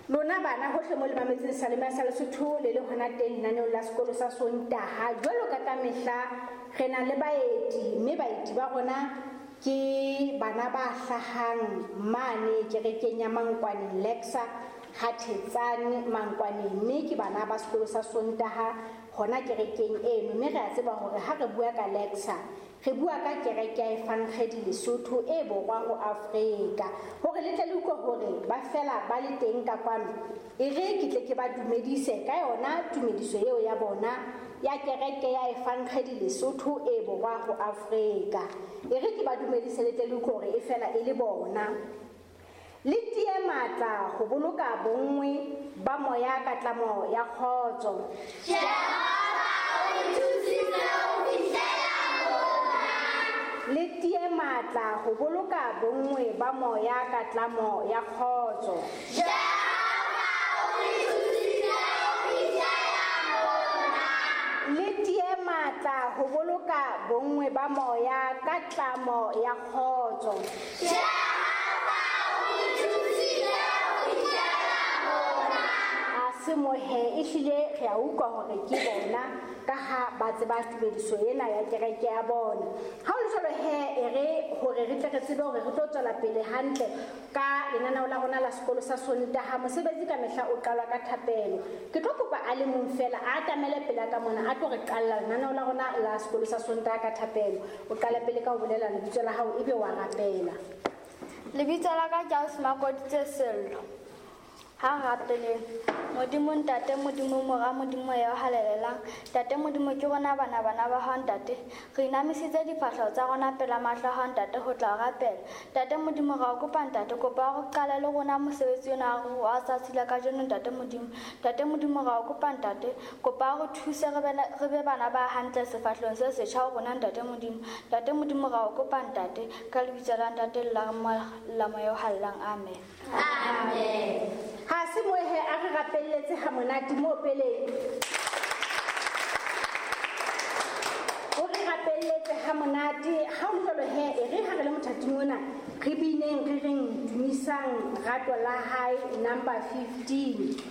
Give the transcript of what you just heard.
Lona bana hohle mo le mametseng Salema sa Lesotho le le hona teng lenaneong la sekolo sa Sontaha. Jwalo ka ka mehla re na le baeti, mme baeti ba rona ke bana ba hlahang mane kerekeng ya Mankwane Lexa ha Thetsane Mankwane, mme ke bana ba sekolo sa Sontaha hona kerekeng eno. Mme re a tseba hore ha re bua ka Lexa re bua ka kereke ya Evangeli Lesotho e borwa ho Afrika. Hore le tle le utlwe hore ba fela ba le teng ka kwano, e re ke tle ke ba dumedise ka yona tumediso eo ya bona ya kereke ya Evangeli Lesotho e borwa ho Afrika. E re ke ba dumedise le tle le utlwe hore e fela e le bona. Le tie matla ho boloka bonngwe ba moya ka tlamo ya kgotso. Jehova o re thusitse ho fihlela mona. Le tie matla ho boloka bonngwe ba moya ka tlamo ya kgotso. Jehova o re thusitse ho fihlela mona. Le tie matla ho boloka bonngwe ba moya ka tlamo ya kgotso. Jehova o re thusitse ho fihlela mona. A se mohe, ehlile re a utlwa hore ke bona ka ha ba tseba tumediso ena ya kereke ya bona. Ha ho le jwalo he, e re hore re tle re tsebe hore re tlo tswela pele hantle ka lenaneo la rona la sekolo sa Sontaha. Mosebetsi ka mehla o qalwa ka thapelo. Ke tlo kopa a le mong fela a atamele pele ka mona, a tlo re qalla lenaneo la rona la sekolo sa Sontaha ka thapelo. O qale pele ka ho bolela lebitso la hao ebe wa rapela. Lebitso la ka ke Ausi Makoditse Sello. Ha rapeleng. Modimo Ntate, Modimo Mora, Modimo Moya o Halalelang. Ntate Modimo, ke rona bana bana ba hao Ntate. Re inamisitse difahleho tsa rona pela mahlo a hao Ntate ho tla o rapela. Ntate Modimo, ra o kopa Ntate, kopa o qale le rona mosebetsi ona wa tsatsi la kajeno Ntate Modimo. Ntate Modimo, ra o kopa Ntate, kopa o re thuse re be bana ba hantle sefahlehong se setjha ho rona Ntate Modimo. Ntate Modimo, ra o kopa Ntate, ka lebitso la Ntate le la la Moya o Halalelang. Amen. Amen. Ha se moehe a re rapelletse ha monate mo pele. O re rapelletse ha monate. Ha o le jwalo he, e re ha re le mothating ona, re bineng re reng tumisang rato la hae number 15.